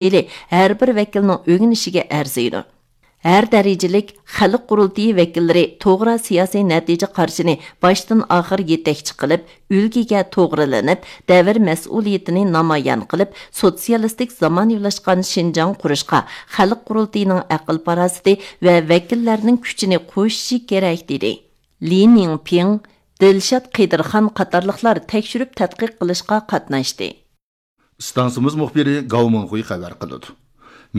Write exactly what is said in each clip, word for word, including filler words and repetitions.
ئىلى ھەر بىر ۋەكىلنىڭ ئۆگىنىشىگە ئەرزىيدۇ. ھەر دەرىجىلىك خەلق قۇرۇلتىيى ۋەكىللىرى توغرا سىياسىي نەتىجە قارىشىنى باشتىن ئاخىر يېتەكچى قىلىپ، ئۈلگىگە توغرىلىنىپ، دەۋر مەسئۇلىيىتىنى نامايان قىلىپ، سوتسىيالىستىك زامانىۋىلاشقان شىنجاڭ قۇرۇشقا خەلق قۇرۇلتىيىنىڭ ئەقىل-پاراسىتى ۋە ۋەكىللەرنىڭ كۈچىنى قوشۇشى كېرەك، دېدى. لى نىڭپىڭ، دىلشات قېدىرخان قاتارلىقلار تەكشۈرۈپ تەتقىق قىلىشقا قاتناشتى. ئىستانسىمىز مۇخبىرى گاۋ مىڭخۇي خەۋەر قىلىدۇ.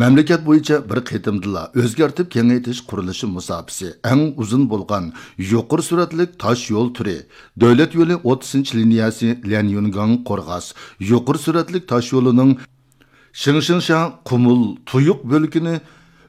مەملىكەت بويىچە بىر قېتىمدىلا ئۆزگەرتىپ كېڭەيتىش قۇرۇلۇشى مۇساپىسى ئەڭ ئۇزۇن بولغان يۇقىرى سۈرئەتلىك تاش يول تۈرى، دۆلەت يولى ئوتتۇزىنچى لىنىيەسى ليەنيۈنگاڭ قورغاس يۇقىرى سۈرئەتلىك تاش يولىنىڭ شىڭشىڭشا قۇمۇل تۇيۇق بۆلىكىنى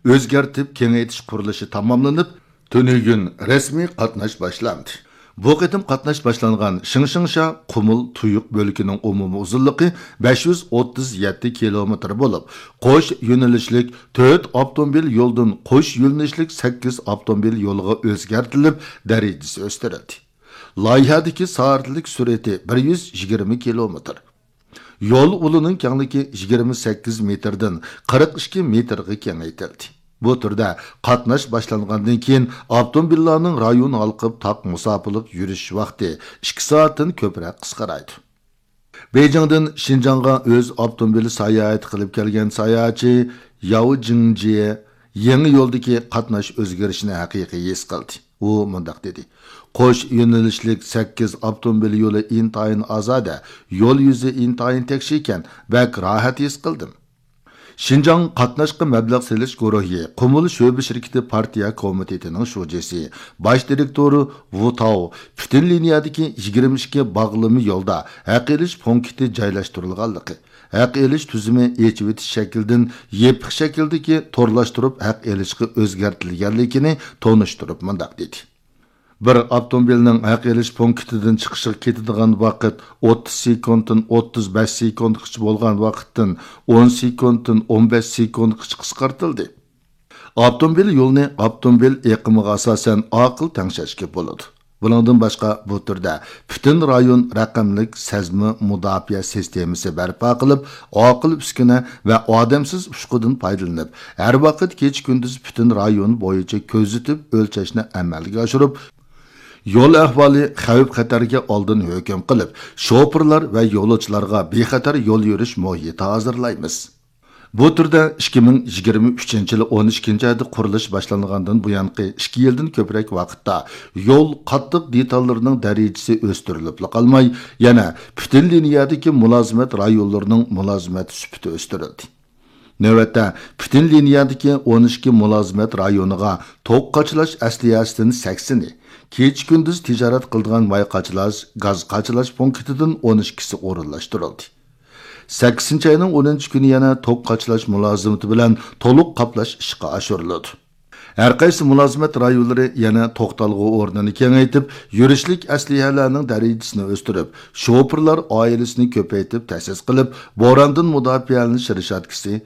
ئۆزگەرتىپ كېڭەيتىش قۇرۇلۇشى تاماملىنىپ، تۈنۈگۈن رەسمىي قاتناش باشلاندى. بۇ قېتىم قاتناش باشلانغان شىڭشىڭشا قۇمۇل تۇيۇق بۆلىكىنىڭ ئومۇمىي ئۇزۇنلۇقى بەش يۈز ئوتتۇز يەتتە كىلومېتىر بولۇپ، قوش يۆنىلىشلىك تۆت ئاپتوموبىل يولدىن قوش يۆنىلىشلىك سەككىز ئاپتوموبىل يولىغا ئۆزگەرتىلىپ، دەرىجىسى ئۆستۈرۈلدى. لايىھەدىكى سائەتلىك سۈرئىتى بىر يۈز يىگىرمە كىلومېتىر. يول ئۇلىنىڭ كەڭلىكى يىگىرمە سەككىز مېتىردىن قىرىق ئىككى مېتىرغا كېڭەيتىلدى. بۇ تۈردە قاتناش باشلانغاندىن كېيىن، ئاپتوموبىللارنىڭ رايون ھالقىپ تاق مۇساپىلىق يۈرۈش ۋاقتى ئىككى سائەتتىن كۆپرەك قىسقىرايدۇ. بېيجىڭدىن شىنجاڭغا ئۆز ئاپتوموبىلى ساياھەت قىلىپ كەلگەن ساياھەتچى ياۋ جىڭجيې يېڭى يولدىكى قاتناش ئۆزگىرىشىنى ھەقىقىي ھېس قىلدى. ئۇ مۇنداق دېدى: «قوش يۆنىلىشلىك سەككىز ئاپتوموبىل يولى ئىنتايىن ئازادە، يول يۈزى ئىنتايىن تەكشى ئىكەن، بەك راھەت ھېس قىلدىم.» شىنجاڭ قاتناشقا مەبلەغ سېلىش گۇرۇھى قۇمۇل شۆبە شىركىتى پارتىيە كومىتېتىنىڭ شۇجىسى، باش دىرېكتورى ۋۇ تاۋ پۈتۈن لىنىيەدىكى يىگىرمە ئىككى باغلىما يولدا ھەق ئېلىش پونكىتى جايلاشتۇرۇلغانلىقى، ھەق ئېلىش تۈزۈمى ئېچىۋېتىش شەكلىدىن يېپىق شەكىلدىكى تورلاشتۇرۇپ ھەق ئېلىشقا ئۆزگەرتىلگەنلىكىنى تونۇشتۇرۇپ مۇنداق دېدى: «بىر ئاپتوموبىلنىڭ ھەق ئېلىش پونكىتىدىن چىقىشىغا كېتىدىغان ۋاقىت ئوتتۇز سېكۇنتتىن ئوتتۇز بەش سېكۇنتقىچە بولغان ۋاقىتتىن ئون سېكۇنتتىن ئون بەش سېكۇنتقىچە قىسقارتىلدى.» ئاپتوموبىل يولىنى ئاپتوموبىل ئېقىمىغا ئاساسەن ئاقىل تەڭشەشكە بولىدۇ. بۇنىڭدىن باشقا، بۇ تۈردە پۈتۈن رايون رەقەملىك سەزمە مۇداپىئە سىستېمىسى بەرپا قىلىپ، ئاقىل ئۈسكۈنە ۋە ئادەمسىز ئۇچقۇدىن پايدىلىنىپ، ھەر ۋاقىت كېچە-كۈندۈز پۈتۈن رايون بويىچە كۆزىتىپ ئۆلچەشنى ئەمەلگە ئاشۇرۇپ، يول ئەھۋالى، خەۋپ-خەتەرگە ئالدىن ھۆكۈم قىلىپ، شوپۇرلار ۋە يولۇچىلارغا بىخەتەر يول يۈرۈش مۇھىتى ھازىرلايمىز. بۇ تۈردە ئىككى مىڭ يىگىرمە ئۈچىنچى يىلى ئون ئىككىنچى ئايدا قۇرۇلۇش باشلانغاندىن بۇيانقى ئىككى يىلدىن كۆپرەك ۋاقىتتا يول قاتتىق دېتاللىرىنىڭ دەرىجىسى ئۆستۈرۈلۈپلا قالماي، يەنە پۈتۈن لىنىيەدىكى مۇلازىمەت رايونلىرىنىڭ مۇلازىمەت سۈپىتى ئۆستۈرۈلدى. نۆۋەتتە پۈتۈن لىنىيەدىكى ئون ئىككى مۇلازىمەت رايونىغا توك قاچىلاش ئەسلىھەسىدىن سەكسىنى، كېچە-كۈندۈز تىجارەت قىلىدىغان ماي قاچىلاش، گاز قاچىلاش پونكىتىدىن ئون ئىككىسى ئورۇنلاشتۇرۇلدى. سەككىزىنچى ئاينىڭ ئونىنچى كۈنى يەنە توك قاچىلاش مۇلازىمىتى بىلەن تولۇق قاپلاش ئىشقا ئاشۇرۇلىدۇ. ھەر قايسى مۇلازىمەت رايونلىرى يەنە توختالغۇ ئورنىنى كېڭەيتىپ، يۈرۈشلۈك ئەسلىھەلەرنىڭ دەرىجىسىنى ئۆستۈرۈپ، شوپۇرلار ئائىلىسىنى كۆپەيتىپ تەسىس قىلىپ، بوراندىن مۇداپىئەلىنىش رېشاتكىسى،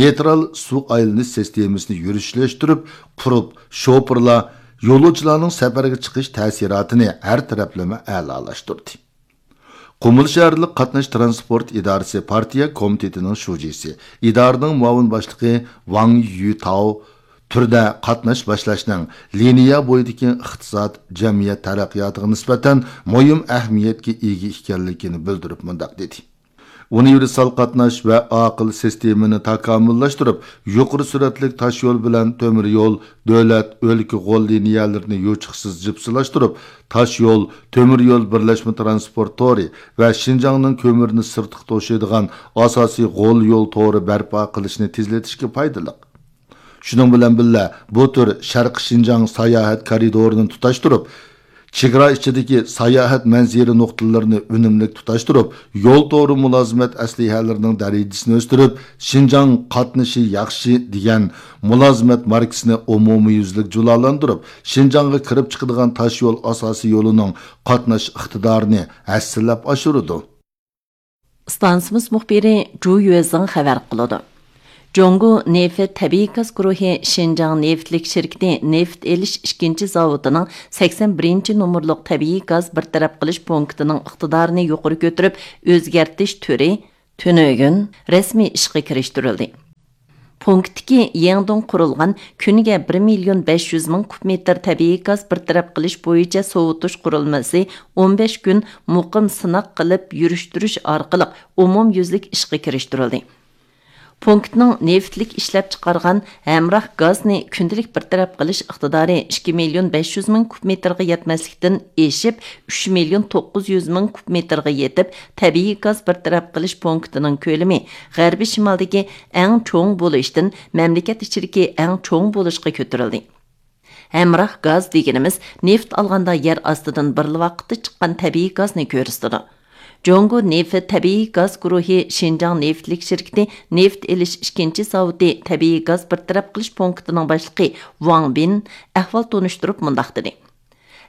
نېيترال سۇ ئايلىنىش سىستېمىسىنى يۈرۈشلەشتۈرۈپ قۇرۇپ، شوپۇرلار، يولۇچىلارنىڭ سەپەرگە چىقىش تەسىراتىنى ھەر تەرەپلىمە ئەلالاشتۇردى. قۇمۇل شەھەرلىك قاتناش تىرانسپورت ئىدارىسى پارتىيە كومىتېتىنىڭ شۇجىسى، ئىدارىنىڭ مۇئاۋىن باشلىقى ۋاڭ يۈتاۋ تۈردە قاتناش باشلاشنىڭ لىنىيە بويىدىكى ئىقتىساد، جەمئىيەت تەرەققىياتىغا نىسبەتەن مۇھىم ئەھمىيەتكە ئىگە ئىكەنلىكىنى بىلدۈرۈپ مۇنداق دېدى: «ئۇنىۋېرسال قاتناش ۋە ئاقىل سىستېمىنى تاكامۇللاشتۇرۇپ، يۇقىرى سۈرئەتلىك تاشيول بىلەن تۆمۈر يول، دۆلەت، ئۆلكە غول لىنىيەلىرىنى يوچۇقسىز جىپسىلاشتۇرۇپ، تاشيول، تۆمۈر يول بىرلەشمە تىرانسپورت تورى ۋە شىنجاڭنىڭ كۆمۈرنى سىرتقا توشۇيدىغان ئاساسىي غول يول تورى بەرپا قىلىشنى تېزلىتىشكە پايدىلىق. شۇنىڭ بىلەن بىللە، بۇ تۈر شەرقىي شىنجاڭ ساياھەت كارىدورىنى تۇتاشتۇرۇپ، چېگرا ئىچىدىكى ساياھەت مەنزىرە نۇقتىلىرىنى ئۈنۈملۈك تۇتاشتۇرۇپ، يول تورى مۇلازىمەت ئەسلىھەلىرىنىڭ دەرىجىسىنى ئۆستۈرۈپ، شىنجاڭ قاتنىشى ياخشى دېگەن مۇلازىمەت ماركىسىنى ئومۇميۈزلۈك جۇلالاندۇرۇپ، شىنجاڭغا كىرىپ چىقىدىغان تاشيول ئاساسىي يولىنىڭ قاتناش ئىقتىدارىنى ھەسسىلەپ ئاشۇرىدۇ.» ئىستانسىمىز مۇخبىرى جۇ يۈەزىڭ خەۋەر قىلىدۇ. جۇڭگو نېفىت تەبىئىي گاز گۇرۇھى شىنجاڭ نېفىتلىك شىركىتى نېفىت ئېلىش ئىككىنچى زاۋۇتىنىڭ سەكسەن بىرىنچى نومۇرلۇق تەبىئىي گاز بىر تەرەپ قىلىش پونكىتىنىڭ ئىقتىدارىنى يۇقىرى كۆتۈرۈپ، ئۆزگەرتىش تۈرى تۈنۈگۈن رەسمىي ئىشقا كىرىشتۈرۈلدى. پونكىتتىكى يېڭىدىن قۇرۇلغان كۈنىگە بىر مىليون بەش يۈز مىڭ كۇب مېتىر تەبىئىي گاز بىر تەرەپ قىلىش بويىچە سوۋۇتۇش قۇرۇلمىسى ئون بەش كۈن مۇقىم سىناق قىلىپ يۈرۈشتۈرۈش ئارقىلىق ئومۇميۈزلۈك ئىشقا كىرىشتۈرۈلدى. پونكىتنىڭ نېفىتلىك ئىشلەپچىقارغان ھەمراھ گازنى كۈندىلىك بىر تەرەپ قىلىش ئىقتىدارى ئىككى مىليون بەش يۈز مىڭ كۇب مېتىرغا يەتمەسلىكتىن ئېشىپ، ئۈچ مىليون توققۇز يۈز مىڭ كۇب مېتىرغا يېتىپ، تەبىئىي گاز بىر تەرەپ قىلىش پونكىتىنىڭ كۆلىمى غەربىي شىمالدىكى ئەڭ چوڭ بولۇشتىن مەملىكەت ئىچىدىكى ئەڭ چوڭ بولۇشقا كۆتۈرۈلدى. ھەمراھ گاز دېگىنىمىز نېفىت ئالغاندا يەر ئاستىدىن بىرلا ۋاقىتتا چىققان تەبىئىي گازنى كۆرسىتىدۇ. جۇڭگو نېفىت تەبىئىي گاز گۇرۇھى شىنجاڭ نېفىتلىك شىركىتى نېفىت ئېلىش ئىككىنچى زاۋۇتى تەبىئىي گاز بىر تەرەپ قىلىش پونكىتىنىڭ باشلىقى ۋاڭ بىن ئەھۋال تونۇشتۇرۇپ مۇنداق دېدى: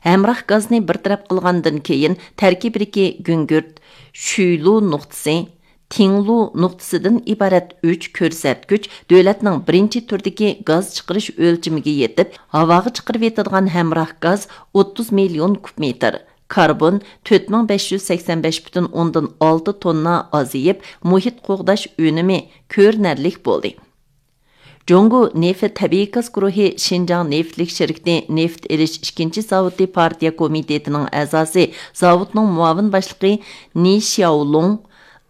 ھەمراھ گازنى بىر تەرەپ قىلغاندىن كېيىن، تەركىبىدىكى گۈڭگۈرت، شۈيلۇ نۇقتىسى، تىڭلۇ نۇقتىسىدىن ئىبارەت ئۈچ كۆرسەتكۈچ دۆلەتنىڭ بىرىنچى تۈردىكى گاز چىقىرىش ئۆلچىمىگە يېتىپ، ھاۋاغا چىقىرىۋېتىدىغان ھەمراھ گاز ئوتتۇز مىليون كۇب مېتىر، كاربون تۆت مىڭ بەش يۈز سەكسەن بەش پۈتۈن ئوندىن ئالتە توننا ئازىيىپ، مۇھىت قوغداش ئۈنۈمى كۆرۈنەرلىك بولدى. جۇڭگو نېفىت تەبىئىي گاز گۇرۇھى شىنجاڭ نېفىتلىك شىركىتى نېفىت ئېلىش ئىككىنچى زاۋۇتى پارتىيە كومىتېتىنىڭ ئەزاسى، زاۋۇتنىڭ مۇئاۋىن باشلىقى نى شياۋلۇڭ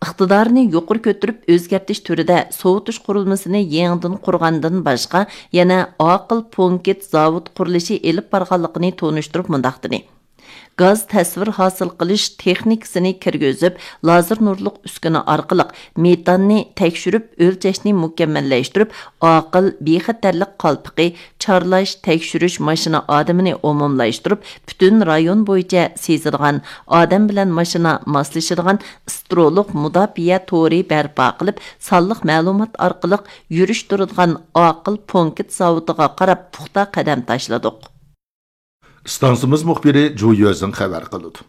ئىقتىدارنى يۇقىرى كۆتۈرۈپ، ئۆزگەرتىش تۈرىدە سوۋۇتۇش قۇرۇلمىسىنى يېڭىدىن قۇرغاندىن باشقا، يەنە ئاقىل پونكىت زاۋۇت قۇرۇلۇشى ئېلىپ بارغانلىقىنى تونۇشتۇرۇپ مۇنداق دېدى: گاز تەسۋىر ھاسىل قىلىش تېخنىكىسىنى كىرگۈزۈپ، لازېر نۇرلۇق ئۈسكۈنە ئارقىلىق مېتاننى تەكشۈرۈپ ئۆلچەشنى مۇكەممەللەشتۈرۈپ، ئاقىل بىخەتەرلىك قالپىقى، چارلاش، تەكشۈرۈش ماشىنا ئادىمىنى ئومۇملاشتۇرۇپ، پۈتۈن رايون بويىچە سېزىدىغان، ئادەم بىلەن ماشىنا ماسلىشىدىغان ئىسترولۇق مۇداپىئە تورى بەرپا قىلىپ، سانلىق مەلۇمات ئارقىلىق يۈرۈشتۈرىدىغان ئاقىل پونكىت زاۋۇتىغا قاراپ پۇختا قەدەم تاشلىدۇق. ئىستانسىمىز مۇخبىرى جۇ يۆزىڭ خەۋەر قىلىدۇ.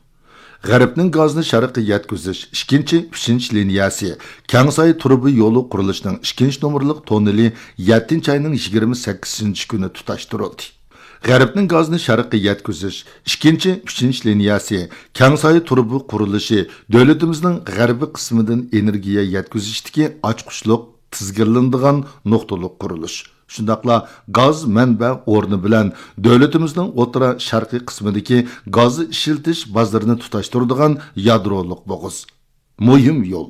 غەربنىڭ گازنى شەرققە يەتكۈزۈش ئىككىنچى، ئۈچىنچى لىنىيەسى كەڭساي تۇرۇبا يولى قۇرۇلۇشىنىڭ ئىككىنچى نومۇرلۇق توننېلى يەتتىنچى ئاينىڭ يىگىرمە سەككىزىنچى كۈنى تۇتاشتۇرۇلدى. غەربنىڭ گازنى شەرققە يەتكۈزۈش ئىككىنچى، ئۈچىنچى لىنىيەسى كەڭساي تۇرۇبا قۇرۇلۇشى دۆلىتىمىزنىڭ غەربىي قىسمىدىن ئېنېرگىيە يەتكۈزۈشتىكى ئاچقۇچلۇق تىزگىنلىنىدىغان نۇقتىلىق قۇرۇلۇش. شۇنداقلا گاز مەنبە ئورنى بىلەن دۆلىتىمىزنىڭ ئوتتۇرا شەرقىي قىسمىدىكى گاز ئىشلىتىش بازىرىنى تۇتاشتۇرىدىغان يادرولۇق بوغۇز. مۇھىم يول.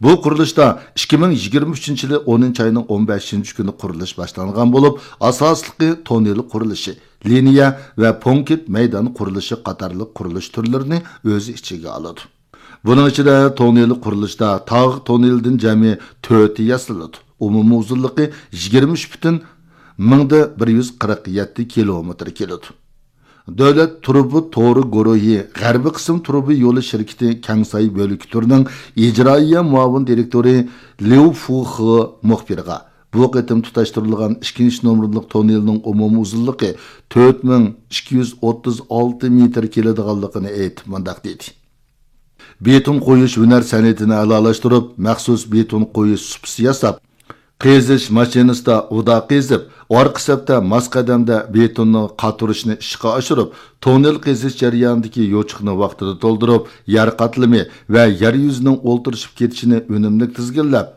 بۇ قۇرۇلۇشتا ئىككى مىڭ يىگىرمە ئۈچىنچى يىلى ئونىنچى ئاينىڭ ئون بەشىنچى كۈنى قۇرۇلۇش باشلانغان بولۇپ، ئاساسلىقى توننېل قۇرۇلۇشى، لىنىيە ۋە پونكىت مەيدان قۇرۇلۇشى قاتارلىق قۇرۇلۇش تۈرلىرىنى ئۆز ئىچىگە ئالىدۇ. بۇنىڭ ئىچىدە توننېل قۇرۇلۇشتا تاغ توننېلىدىن جەمئىي تۆتى ياسىلىدۇ. ئومۇمىي ئۇزۇنلۇقى يىگىرمە ئۈچ پۈتۈن مىڭدا بىر يۈز قىرىق يەتتە كىلومېتىر كېلىدۇ. دۆلەت تۇرۇبا تورى گۇرۇھى غەربىي قىسىم تۇرۇبا يولى شىركىتى كەڭساي بۆلۈكى تۈرىنىڭ ئىجرائىيە مۇئاۋىن دىرېكتورى ليۇ فۇخې مۇخبىرغا، بۇ قېتىم تۇتاشتۇرۇلغان ئىككىنچى نومۇرلۇق توننېلنىڭ ئومۇمىي ئۇزۇنلۇقى تۆت مىڭ ئىككى يۈز ئوتتۇز ئالتە مېتىر كېلىدىغانلىقىنى ئېيتىپ، مۇنداق دېدى: بېتون قويۇش ھۈنەر سەنئىتىنى ئەلالاشتۇرۇپ، مەخسۇس بېتون قويۇش سۇپىسى ياساپ، قېزىش ماشىنىسىدا ئۇدا قېزىپ، ئارقا سەپتە ماس قەدەمدە بېتوننى قاتۇرۇشنى ئىشقا ئاشۇرۇپ، توننېل قېزىش جەريانىدىكى يوچۇقنى ۋاقتىدا تولدۇرۇپ، يەر قاتلىمى ۋە يەر يۈزىنىڭ ئولتۇرۇشۇپ كېتىشىنى ئۈنۈملۈك تىزگىنلەپ،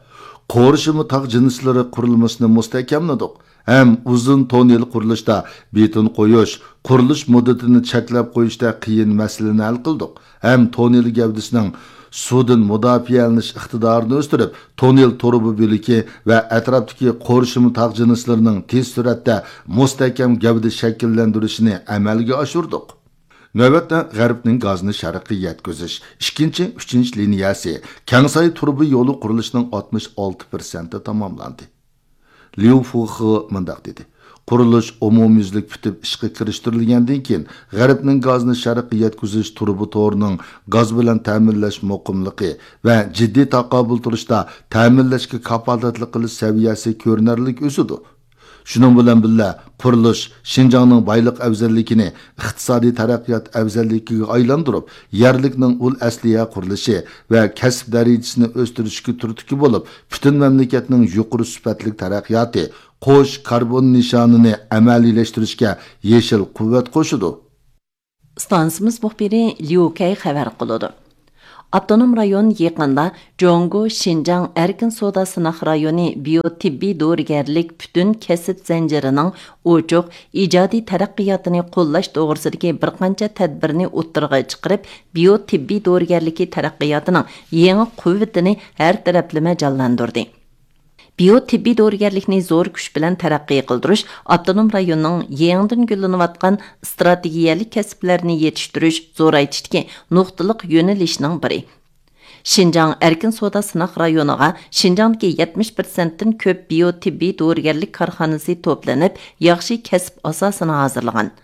قورشىما تاغ جىنسلىرى قۇرۇلمىسىنى مۇستەھكەملىدۇق. ھەم ئۇزۇن توننېل قۇرۇلۇشتا بېتون قويۇش، قۇرۇلۇش مۇددىتىنى چەكلەپ قويۇشتا قىيىن مەسىلىنى ھەل قىلدۇق. ھەم توننېل گەۋدىسىنىڭ سۇدىن مۇداپىئەلىنىش ئىقتىدارىنى ئۆستۈرۈپ، توننېل تۇرۇبا بۆلىكى ۋە ئەتراپتىكى قورشىما تاغ جىنسلىرىنىڭ تېز سۈرئەتتە مۇستەھكەم گەۋدە شەكىللەندۈرۈشىنى ئەمەلگە ئاشۇردۇق. نۆۋەتتە غەربنىڭ گازنى شەرققە يەتكۈزۈش ئىككىنچى، ئۈچىنچى لىنىيەسى كەڭساي تۇرۇبا يولى قۇرۇلۇشىنىڭ ئاتمىش ئالتە پىرسەنتى تاماملاندى. ليۇ فۇخې مۇنداق دېدى: قۇرۇلۇش ئومۇميۈزلۈك پۈتۈپ ئىشقا كىرىشتۈرۈلگەندىن كېيىن، غەربنىڭ گازنى شەرققە يەتكۈزۈش تۇرۇبا تورىنىڭ گاز بىلەن تەمىنلەش مۇقىملىقى ۋە جىددىي تاقابىل تۇرۇشتا تەمىنلەشكە كاپالەتلىك قىلىش سەۋىيەسى كۆرۈنەرلىك ئۆسىدۇ. شۇنىڭ بىلەن بىللە، قۇرۇلۇش شىنجاڭنىڭ بايلىق ئەۋزەللىكىنى ئىقتىسادىي تەرەققىيات ئەۋزەللىكىگە ئايلاندۇرۇپ، يەرلىكنىڭ ئۇل ئەسلىھە قۇرۇلۇشى ۋە كەسىپ دەرىجىسىنى ئۆستۈرۈشكە تۈرتكە بولۇپ، پۈتۈن مەملىكەتنىڭ يۇقىرى سۈپەتلىك تەرەققىياتى، قوش كاربون نىشانىنى ئەمەلىيلەشتۈرۈشكە يېشىل قۇۋۋەت قوشىدۇ. ئىستانسىمىز مۇخبىرى ليۇ كەي خەۋەر قىلىدۇ. ئاپتونوم رايون يېقىندا جۇڭگو شىنجاڭ ئەركىن سودا سىناق رايونى بىيو تېببىي دورىگەرلىك پۈتۈن كەسىپ زەنجىرىنىڭ ئوچۇق، ئىجادىي تەرەققىياتىنى قوللاش توغرىسىدىكى بىر قانچە تەدبىرنى ئوتتۇرىغا چىقىرىپ، بىيو تېببىي دورىگەرلىكى تەرەققىياتىنىڭ يېڭى قۇۋۋىتىنى ھەر تەرەپلىمە جانلاندۇردى. بىيو تېببىي دورىگەرلىكنى زور كۈچ بىلەن تەرەققىي قىلدۇرۇش ئاپتونوم رايوننىڭ يېڭىدىن گۈللىنىۋاتقان ئىستراتېگىيەلىك كەسىپلەرنى يېتىشتۈرۈش، زورايتىشتىكى نۇقتىلىق يۆنىلىشنىڭ بىرى. شىنجاڭ ئەركىن سودا سىناق رايونىغا شىنجاڭدىكى يەتمىش پىرسەنتتىن كۆپ بىيو تېببىي دورىگەرلىك كارخانىسى توپلىنىپ، ياخشى كەسىپ ئاساسىنى ھازىرلىغان.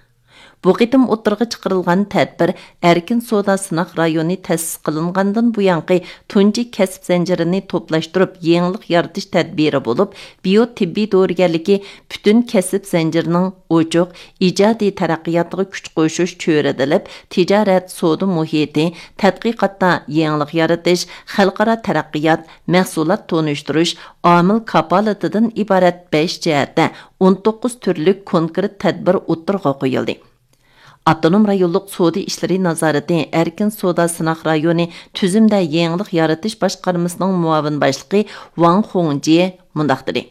بۇ قېتىم ئوتتۇرىغا چىقىرىلغان تەدبىر ئەركىن سودا سىناق رايونى تەسىس قىلىنغاندىن بۇيانقى تۇنجى كەسىپ زەنجىرىنى توپلاشتۇرۇپ يېڭىلىق يارىتىش تەدبىرى بولۇپ، بىيو تېببىي دورىگەرلىكى پۈتۈن كەسىپ زەنجىرىنىڭ ئوچۇق، ئىجادىي تەرەققىياتىغا كۈچ قوشۇش چۆرىدىلىپ، تىجارەت، سودا مۇھىتى، تەتقىقاتتا يېڭىلىق يارىتىش، خەلقئارا تەرەققىيات، مەھسۇلات تونۇشتۇرۇش، ئامىل كاپالىتىدىن ئىبارەت بەش جەھەتتە ئون توققۇز تۈرلۈك كونكرېت تەدبىر ئوتتۇرىغا قويۇلدى. ئاپتونوم رايونلۇق سودا ئىشلىرى نازارىتى ئەركىن سودا سىناق رايونى تۈزۈمدە يېڭىلىق يارىتىش باشقارمىسىنىڭ مۇئاۋىن باشلىقى ۋاڭ خۇڭجيې مۇنداق دېدى: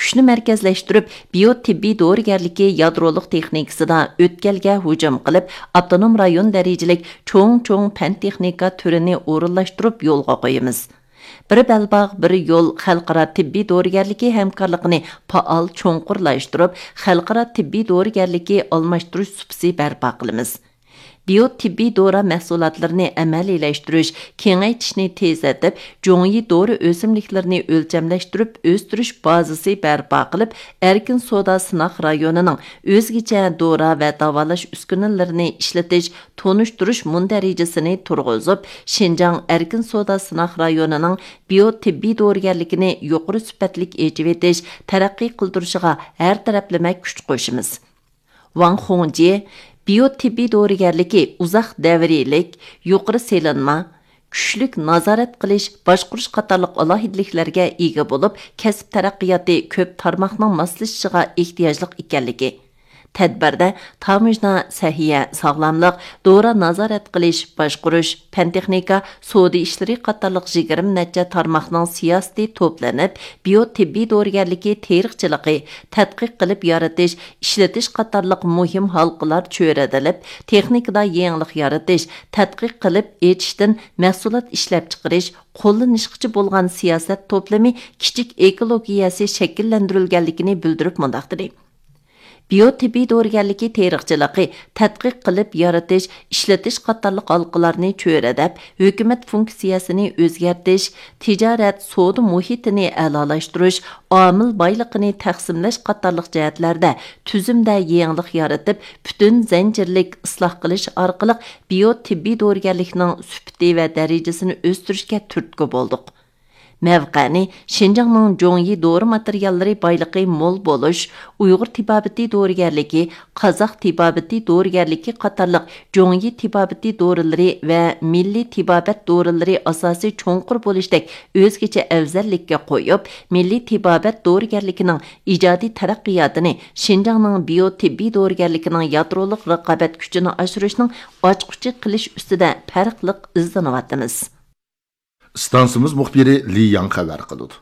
كۈچنى مەركەزلەشتۈرۈپ، بىيو تېببىي دورىگەرلىكى يادرولۇق تېخنىكىسىدا ئۆتكەلگە ھۇجۇم قىلىپ، ئاپتونوم رايون دەرىجىلىك چوڭ-چوڭ پەن تېخنىكا تۈرىنى ئورۇنلاشتۇرۇپ يولغا قويىمىز. بىر بەلباغ، بىر يول خەلقئارا تېببىي دورىگەرلىكى ھەمكارلىقىنى پائال چوڭقۇرلاشتۇرۇپ، خەلقئارا تېببىي دورىگەرلىكى ئالماشتۇرۇش سۇپىسى بەرپا قىلىمىز. بىيو تېببىي دورا مەھسۇلاتلىرىنى ئەمەلىيلەشتۈرۈش، كېڭەيتىشنى تېزلىتىپ، جۇڭيى دورا ئۆسۈملۈكلىرىنى ئۆلچەملەشتۈرۈپ ئۆستۈرۈش بازىسى بەرپا قىلىپ، ئەركىن سودا سىناق رايونىنىڭ ئۆزگىچە دورا ۋە داۋالاش ئۈسكۈنىلىرىنى ئىشلىتىش، تونۇشتۇرۇش مۇندەرىجىسىنى تۇرغۇزۇپ، شىنجاڭ ئەركىن سودا سىناق رايونىنىڭ بىيو تېببىي دورىگەرلىكىنى يۇقىرى سۈپەتلىك ئېچىۋېتىش، تەرەققىي قىلدۇرۇشىغا ھەر تەرەپلىمە كۈچ قوشىمىز. ۋاڭ خۇڭجى بىيو تېببىي دورىگەرلىكى ئۇزاق دەۋرىيلىك، يۇقىرى سېلىنما، كۈچلۈك نازارەت قىلىش، باشقۇرۇش قاتارلىق ئالاھىدىلىكلەرگە ئىگە بولۇپ، كەسىپ تەرەققىياتى كۆپ تارماقنىڭ ماسلىشىشىغا ئېھتىياجلىق ئىكەنلىكى، تەدبىردە تاموژنا، سەھىيە، ساغلاملىق، دورا نازارەت قىلىش، باشقۇرۇش، پەن تېخنىكا، سودا ئىشلىرى قاتارلىق يىگىرمە نەچچە تارماقنىڭ سىياسىتى توپلىنىپ، بىيو تېببىي دورىگەرلىكى تېرىقچىلىقى، تەتقىق قىلىپ يارىتىش، ئىشلىتىش قاتارلىق مۇھىم ھالقىلار چۆرىدىلىپ، تېخنىكىدا يېڭىلىق يارىتىش، تەتقىق قىلىپ ئېچىشتىن مەھسۇلات ئىشلەپچىقىرىش، قوللىنىشقىچە بولغان سىياسەت توپلىمى كىچىك ئېكولوگىيەسى شەكىللەندۈرۈلگەنلىكىنى بىلدۈرۈپ مۇنداق دېدى: بىيو تېببىي دورىگەرلىكى تېرىقچىلىقى، تەتقىق قىلىپ يارىتىش، ئىشلىتىش قاتارلىق ھالقىلارنى چۆرىدەپ، ھۆكۈمەت فۇنكسىيەسىنى ئۆزگەرتىش، تىجارەت، سودا مۇھىتىنى ئەلالاشتۇرۇش، ئامىل بايلىقىنى تەقسىملەش قاتارلىق جەھەتلەردە تۈزۈمدە يېڭىلىق يارىتىپ، پۈتۈن زەنجىرلىك ئىسلاھ قىلىش ئارقىلىق بىيو تېببىي دورىگەرلىكنىڭ سۈپىتى ۋە دەرىجىسىنى ئۆستۈرۈشكە تۈرتكە بولدۇق. مەۋقەنى شىنجاڭنىڭ جۇڭيى دورا ماتېرىياللىرى بايلىقى مول بولۇش، ئۇيغۇر تېبابىتى دورىگەرلىكى، قازاق تېبابىتى دورىگەرلىكى قاتارلىق جۇڭيى تېبابىتى دورىلىرى ۋە مىللىي تېبابەت دورىلىرى ئاساسى چوڭقۇر بولۇشتەك ئۆزگىچە ئەۋزەللىككە قويۇپ، مىللىي تېبابەت دورىگەرلىكىنىڭ ئىجادىي تەرەققىياتىنى شىنجاڭنىڭ بىيو تېببىي دورىگەرلىكىنىڭ يادرولۇق رىقابەت كۈچىنى ئاشۇرۇشنىڭ ئاچقۇچى قىلىش ئۈستىدە پەرقلىق ئىزدىنىۋاتىمىز. ئىستانسىمىز مۇخبىرى لى ياڭ خەۋەر قىلىدۇ.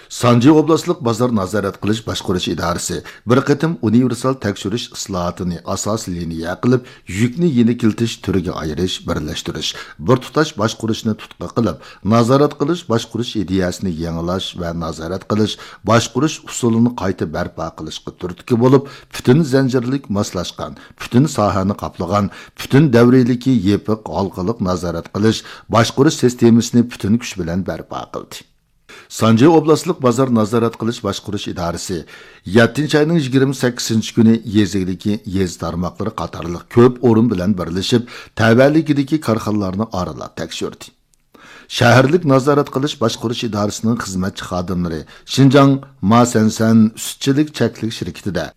سانجى ئوبلاستلىق بازار نازارەت قىلىش باشقۇرۇش ئىدارىسى بىر قېتىم ئۇنىۋېرسال تەكشۈرۈش ئىسلاھاتىنى ئاساسىي لىنىيە قىلىپ، يۈكنى يېنىكلىتىش، تۈرگە ئايرىش، بىرلەشتۈرۈش، بىر تۇتاش باشقۇرۇشنى تۇتقا قىلىپ، نازارەت قىلىش باشقۇرۇش ئىدىيەسىنى يېڭىلاش ۋە نازارەت قىلىش باشقۇرۇش ئۇسۇلىنى قايتا بەرپا قىلىشقا تۈرتكە بولۇپ، پۈتۈن زەنجىرلىك ماسلاشقان، پۈتۈن ساھەنى قاپلىغان، پۈتۈن دەۋرىيلىكى يېپىق ھالقىلىق نازارەت قىلىش، باشقۇرۇش سىستېمىسىنى پۈتۈن كۈچ بىلەن بەرپا قىلدى. سانجى ئوبلاستلىق بازار نازارەت قىلىش باشقۇرۇش ئىدارىسى يەتتىنچى ئاينىڭ يىگىرمە سەككىزىنچى كۈنى يېزا ئىگىلىكى، يېزا تارماقلىرى قاتارلىق كۆپ ئورۇن بىلەن بىرلىشىپ، تەۋەلىكىدىكى كارخانىلارنى ئارىلاپ تەكشۈردى. شەھەرلىك نازارەت قىلىش باشقۇرۇش ئىدارىسىنىڭ خىزمەتچى خادىملىرى شىنجاڭ ماسەنسەن سۈتچىلىك چەكلىك شىركىتىدە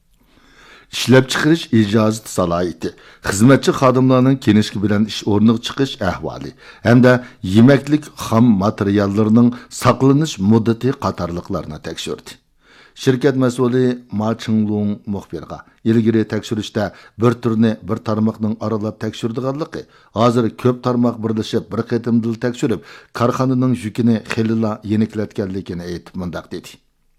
ئىشلەپچىقىرىش ئىجازىتى سالاھىيىتى، خىزمەتچى خادىملارنىڭ كىنىشكا بىلەن ئىش ئورنىغا چىقىش ئەھۋالى ھەمدە يېمەكلىك خام ماتېرىياللىرىنىڭ ساقلىنىش مۇددىتى قاتارلىقلارنى تەكشۈردى. شىركەت مەسئۇلى ما چىڭلۇڭ مۇخبىرغا، ئىلگىرى تەكشۈرۈشتە بىر تۈرنى بىر تارماقنىڭ ئارىلاپ تەكشۈرىدىغانلىقى، ھازىر كۆپ تارماق بىرلىشىپ بىر قېتىمدىلا تەكشۈرۈپ، كارخانىنىڭ يۈكىنى خېلىلا يېنىكلەتكەنلىكىنى ئېيتىپ مۇنداق دېدى.